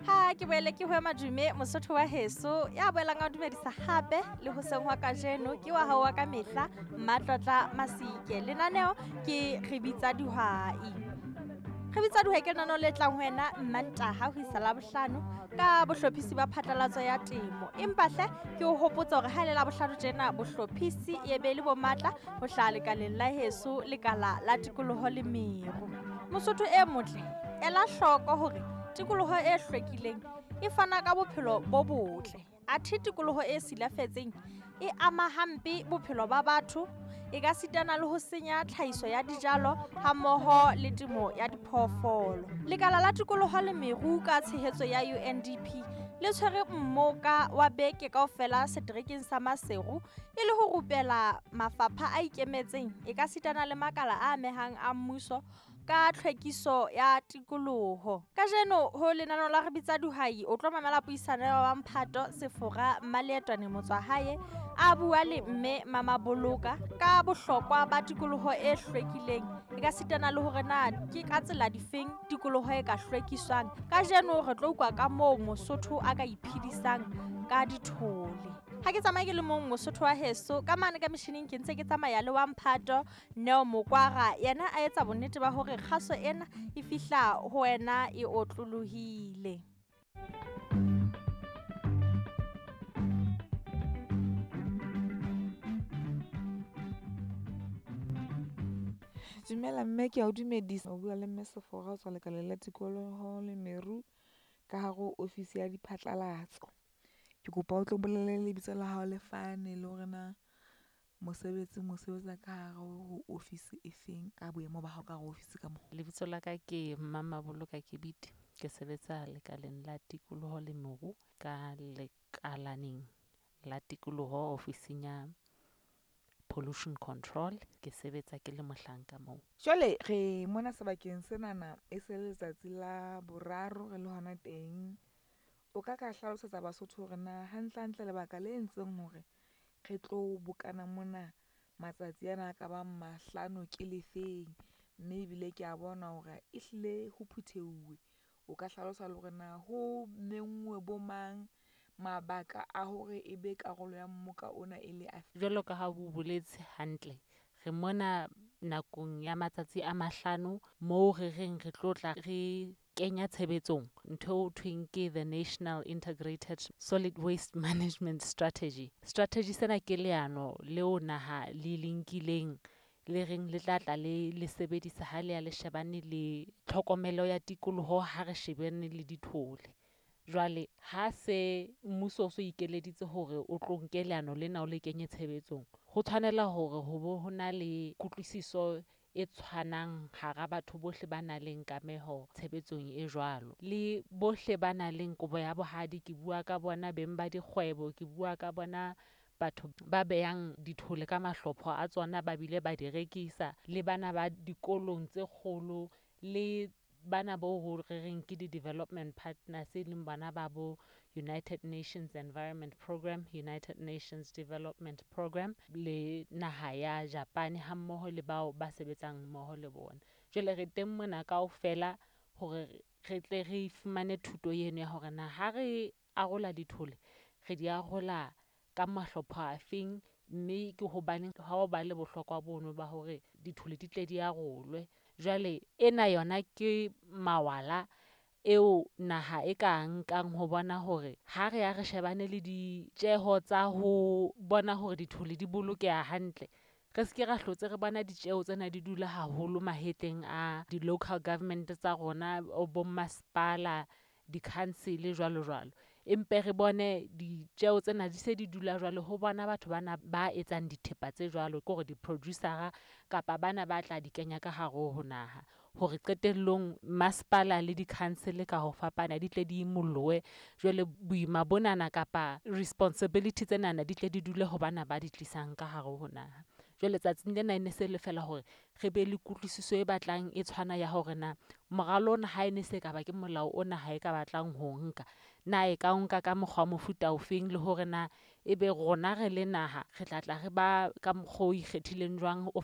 Ha ke boele ke ho madume Mosotho wa heso ya boelang a dumedisa hape le hoseng hwa kajeno ke wa hao wa ka mehla Mmatlotla Masike. Lenaneo ke Re Bitsa Dihwai. Re Bitsa Dihwai ke lenaneo le tlang ho wena Mmantaha ho isa Labohlano ka bohlophisi ba phatlalatso ya temo. Empa hle ke o hopotsa hore ha e le Labohlano tjena bohlophisi e be le bo matla ho hlaha lekaleng la heso lekala la tikoloho le meru. Mosotho e motle, ela hloko hore tikoloho e hlwekileng e fana ka bophelo bo botle. Athe tikoloho e silafetseng e ama hampe bophelo ba batho, e ka sitana le ho senya tlhahiso ya dijalo hammoho le temo ya diphoofolo. Lekala la tikoloho le meru ka tshehetso ya UNDP le tshwere mmoka wa beke kaofela seterekeng sa Maseru e le ho rupela mafapha a ikemetseng e ka sitana le makala a amehang a mmuso ka tlhwekiso ya tikoloho. Kajeno ho lenaneo la Re Bitsa Dihwai o tlo mamela puisano ya wa Mphato Sefora Mmaleetwane Motswahae a bua le mme Mama Boloka ka bohlokwa ba tikoloho e hlwekileng e ka sitana le hore na ke ka tsela difeng tikoloho e ka hlwekiswang. Kajeno re tlo utlwa ka moo Mosotho a ka iphedisang ka dithole. Ha ke tsamaye ke le mong Mosotho wa heso ka mane ka metjhining ke ntse ke tsamaya le wa Mphato Neo Mokwara yena a etsa bonnete ba hore kgaso ena e fihla ho wena e otlolohile. Dumela mme, ke a o dumedisa. O bua le mme Sefora ho tswa lekaleng la tikoloho le meru ka hare ho ofisi ya diphatlalatso. Ke kopa o tlo bolele lebitso la hao le fane le hore na mosebetsing o sebetsa ka hare ho ofisi e feng ka boemo ba hao ka hare ho ofisi ka moo. Lebitso la ka ke Mama Boloka Kebidi. Ke sebetsa lekaleng la tikoloho le moru ka lekalaneng la tikoloho ofising ya pollution control. Ke sebetsa ke le mohlanka moo. Jwale re mona sebakeng senana e se le letsatsi la boraro re le hona teng. O ka ka hlalosetsa Basotho hore na hantlehantle lebaka le entseng hore re tlo bokana mona matsatsi ana a ka bang mahlano ke lefeng, mme ebile ke a bona hore ehlile ho phutheuwe. O ka hlalosa le hore na ho menngwe bo mang, mabaka a hore e be karolo ya mmoka ona e le afe? Jwalo ka ha o boletse hantle, re mona nakong ya matsatsi a mahlano moo re reng re tlo tla re kenya tshebetsong ntho eo thweng ke the National Integrated Solid Waste Management Strategy. Strategy sena ke leano leo naha le le nkileng le reng le tla tla le le sebedisa ha le ya le shebane le tlhokomelo ya tikoloho ha re shebane le dithole. Jwale ha se mmuso o so ikeleditse hore o tlo nke leano lena o le kenye tshebetsong, ho tshwanela hore ho bo ho na le kutlwisiso e tshwanang hara batho bohle ba nang le kameho tshebetsong e jwalo. Le bohle ba nang le kobo ya bohadi, ke bua ka bona beng ba dikgwebo, ke bua ka bona batho ba behang dithole ka mahlopho a tsona ba bile ba di rekisa, le bana ba dikolong tse kgolo, le bana bo ho re reng ke di-development partners e leng bana ba bo United Nations Environment Programme, United Nations Development Programme le naha ya Japan ha mmoho le bao ba sebetsang mmoho le bona. Jwale re teng mona kaofela hore re tle re fumane thuto eno ya hore na ha re arola dithole, re di arola ka mahlopho a feng, mme ke hobaneng ha o ba le bohlokwa bono ba hore dithole di tle di arolwe. Jwale ena yona ke mawala eo naha e ka nkang ho bona hore ha re ya re shebane le ditjeho tsa ho bona hore dithole di bolokeha hantle, re se ke ra hlotse re bona ditjeho tsena di dula haholo mahetleng a di-local government tsa rona, bo masepala, di-council jwalo jwalo. Empe re bone ditjeho tsena di se di dula jwalo ho bona batho bana ba etsang dithepa tse jwalo, ke hore di-producer-a kapa bana ba tla di kenya ka hare ho naha. Hore qetellong masepala le di-council ka ho fapana di tle di imollohe. Jwale boima bonana kapa responsibility tsenana di tle di dule ho bana ba di tlisang ka hare ho naha. Jwale tsatsing lena e ne se le feela hore re be le kutlwisiso e batlang e tshwana ya hore na moralo ona ha e ne se ka ba ke molao ona ha e ka batlang ho nka, na e ka o nka ka mokgwa wa mofuta ofeng, le hore na ebe rona re le naha re tla tla re ba ka mokgwa o ikgethileng jwang o